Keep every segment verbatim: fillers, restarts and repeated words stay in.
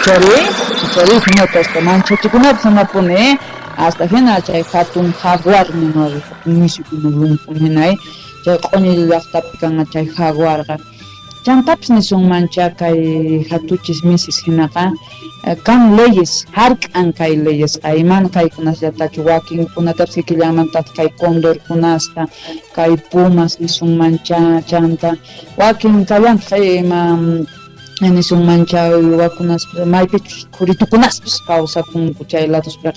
Ichari, ichari hinata hasta manchachikunapis hanapuni hasta hina chay hatun jaguar nima hatun misikuna lumpun hina chay q'uñi llaqtapi kanqa chay jaguarqa. Chantapis nisunmancha kay hatuchis misis hinaqa kan leyes hark'an kay leyesqa iman kaykunasllatachu wakinkunatapis kikillanmantataq kay condorkunasta kay pumas nisunmancha chanta wakin kallantaq ima nisunmancha uywakunas maypichus khuritukunaspis kawsakunku chay ladospiqa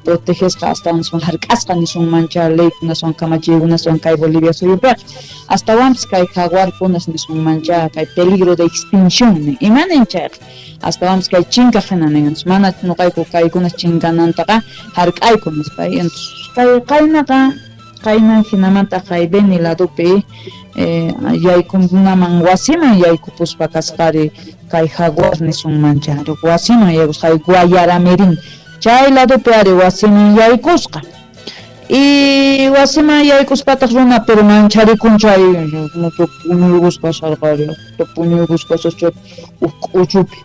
protegesqa astawanpas hark'asqa nisunmancha leykunaswan kamachiykunaswan kay Bolivia suyupiqa astawanpis kay jaguarkunas nisunmancha kay peligro de extinción imanin chayqa astawanpis kay chinkaq hina nin mana nuqayku kaykunas chinkanantaqa hark'ayku nispa kay qaynaqa qayna hinamanta kay Beni ladopi eh, yaykunaman wasiman yaykupuspa kasqari kay jaguar nisunmancha wasiman yaykusqa Guayaramerín chay ladopi ari wasiman yaykusqa y wasiman yaykuspataq runa pero mancharikun chay puñuykuspa sarqari puñuykuspa chay huk k'uchupi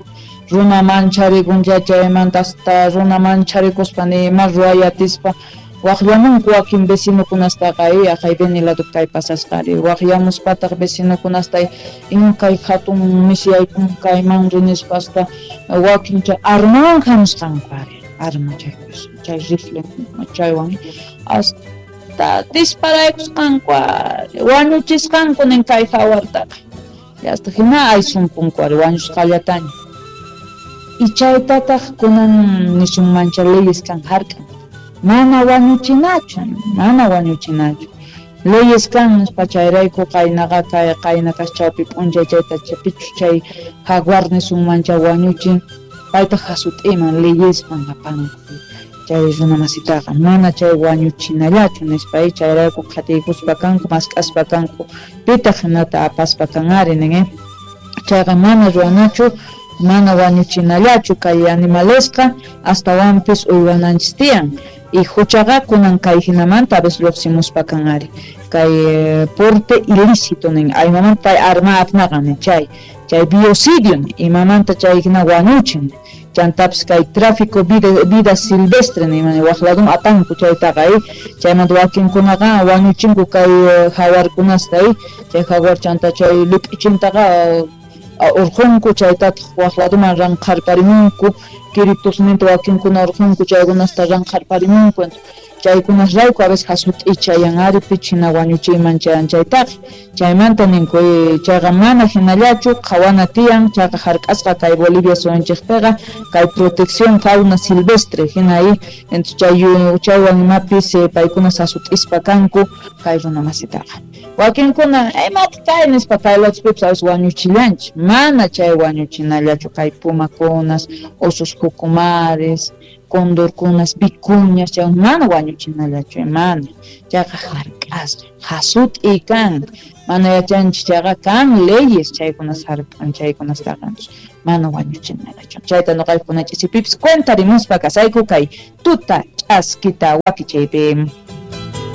runa mancharikun chaymanta hasta runa mancharikuspa nima ruwayatispa waqllamunku wakin vecinokunastaqa aqay Beni ladopi kay pasasqari waqllamuspataq vecinokunasta inkay hatun misi yaykun kayman rinispa hasta wakin chay armawan hamusqanku ari arma chay chay rifle chaywan hasta disparaykusqanku ari wañuchisqanku nin kay jaguartaqa hasta hina aysunpunku ari wañusqallataña y chaytataq kunan nisunmancha leyes kan hark'an mana wañuchinachu mana wañuchinachu leyes kan nispa chayrayku qaynaqa kay qayna kaschawpi p'unchay chayta pichus chay jaguar nisunmancha wañuchin payta hasut'iman leyesman apanku chay runa masitaqa mana chay wañuchinallachu nispa chayrayku qhatiykuspa kanku mask'aspa kanku pitaq hinata apaspa kan ari nin chayqa mana ruwanachu mana wañuchinallachu kay animalesqa astawanpis uywananchis tiyan y huchaqa kunan kay hinamanta a veces lluqsimuspa kan ari kay porte ilícito nin aymamanta pay arma apnaqa nin chay chay biocidio nin imamanta chay hina wañuchin chantapis kay tráfico vida, vida silvestre nin waq ladun apanku chaytaqa chaymanta wakinkunaqa wañuchinku kay jaguarkunasta chay jaguar chanta chay lip'ichintaqa urqunku chaytataq waq laduman ranqharparimunku kiritusninta wakinkuna urqunku chaykunasta ranqharparimunku chaykunasrayku a veces hasut'ichayan ari pichina wañuchiyman chayan chaytaqa chaymanta ninku chayqa mana hinallachu qhawana tiyan chayqa hark'asqa kay Bolivia suyunchikpiqa kay protección fauna silvestre hina entonces chay chaywan imapis paykuna hasut'ispa kanku kay runa masitaqa wakinkuna imata kay nispa kay ladospipis a veces wañuchillanchik mana chay wañuchinallachu kay pumakunas osos jucumares condorkunas vicuñas chay mana wañuchinallachu mana chayqa hark'asqa hasut'i kan mana yachanchik chayqa kan leyes chaykunas hark'an chaykunastaqa mana wañuchinallachu chayta nuqaykuna ch'isipipis cuentarimuspa kasayku kay tuta ch'askita wakichaypi.